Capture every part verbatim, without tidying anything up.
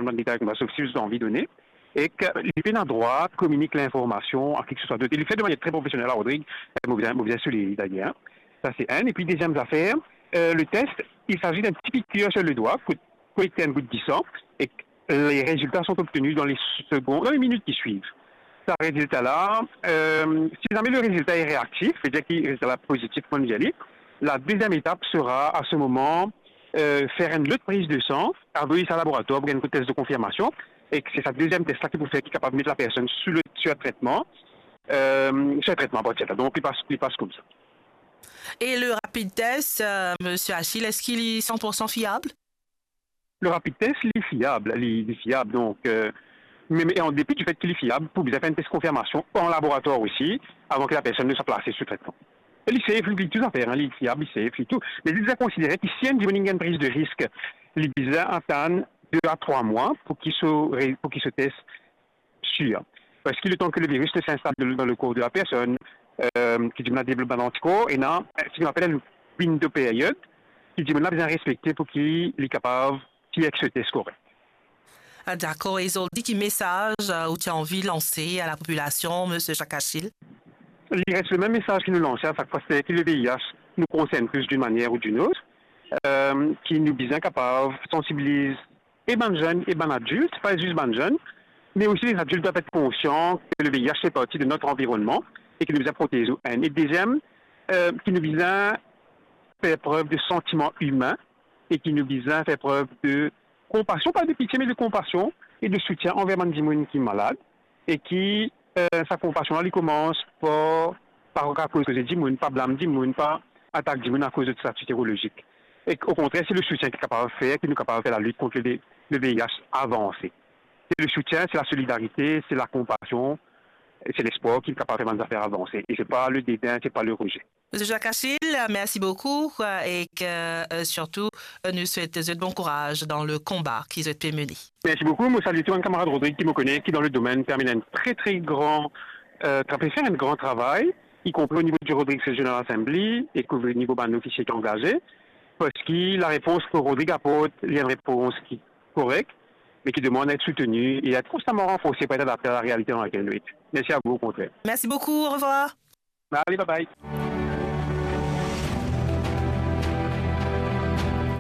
bann detay koumsa, sof si zot anvi done. Ek li pena drwa kominik linformasion a kiseswa dot. E li fer de manier tre profesionel, Rodrigue, eh, mo bizin, mo bizin souliye li dayer. Sa se enn. Epi deziem zafer, eh, le test, il s'agit d'un petit piqûre sur le doigt, kot, kot enn gout disan, e les résultats sont obtenus dans les secondes, dans les minutes qui suivent. Sa rezilta la, eh, si zame le rezilta est réactif, vedir ki rezilta la pozitif, kouma nou dir li, la deuxième étape sera à ce moment, eh, fer enn lot priz de san, avoy sa laboratwar pou gagn enn test de konfirmasion, e se sa deziem test la ki pou fer, ki kapav met lapersonn sou le, sou tretman, eh, sou tretman apartir de la. Donk, li pas, li pas koumsa. E le rapid test, eh, Misie Achille, eski li san pour san fiab? Le rapid test, li fiab, li, li fiab. Donk, eh, me, me an depi di fet ki li fiab, pou bizin fer enn test konfirmasion an laboratwar osi, avan ki lapersonn nou swa plase sou tretman. E li safe, li tou zafer, hein, li fiab, li safe, li tou. Me li deza konsidere ki si enn dimoun inn gagn priz de risk, li bizin atann de a trwa mwa pou ki so re-, pou ki so test sir. Parski letan ki le viris ne s'installe dans le corps de la personne, eh, ki dimoun la devlop bann antikor, ena, eh, seki nou apel enn window period, ki dimoun la bizin respekte pou ki li kapav fer so test korek. Ah, dakor. E zordi, ki mesaz, eh, ou ti anvi lanse a lapopilasion, Misie Jacques Achille? Li res le mem mesaz ki nou lanse a sak fwa, se ki le V I H nou konsern tous d'une manière ou d'une autre, eh, ki nou bizin kapav sansibiliz e bann zenn e bann adilt, pa zis bann zenn, me osi les adultes doivent être conscients que le V I H fait partie de notre environnement e ki nou bizin protez ou, enn. E deziem, eh, ki nou bizin fer prev de santiman imin e ki nou bizin fer prev de konpasion, pa de pitie, me de konpasion e de soutien anver bann dimoun ki malad, e ki, eh, sa konpasion la, li koumans par, pa koz koze dimoun, pa blam dimoun, pa atak dimoun akoz de stati serolozik. E o kontrer, se le soutien ki kapav fer ki nou kapav fer lalit kont le, le V I H avanse. Se le soutien, se la solidarite, se la konpasion, e se lespwar ki kapav fer bann zafer avanse. E se pa le deden, se pa le rejte. Misie Jacques Achille, mersi boukou, eh, e ki, eh, sirtou, eh, nou swet zot bon kouraz dan le konba ki zot pe mene. Mersi boukou. Mo salie tou bann kamarad Rodrigue ki mo kone ki dan le domenn pe amenn enn tre, tre gran, eh, tra-, pe fer enn gran travay, ikonpri o nivo di Rodrigues Regional Assembly ek o nivo bann ofisie ki angaze, parski larepons ki Rodrigue aport, li enn repons ki korek, me ki demann a et souteni e a et konstaman ranforse pou et adapte a la realite dan lakel nou et. Mersi a vou, o kontrer. Mersi boukou, orevwar. Ale, bye bye.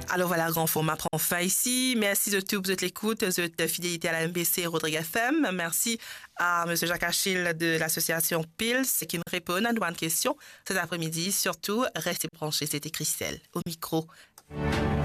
Alor vwala, Gran Forma pran fin isi. Mersi zot tou pou zot lekout, zot fidelite a la M B C Rodrigue F M. Mersi a Misie Jacques Achille de lasosiasion Pils ki inn reponn a nou bann kestion set apremidi. Sirtou, reste branche, sete Christelle o mikro.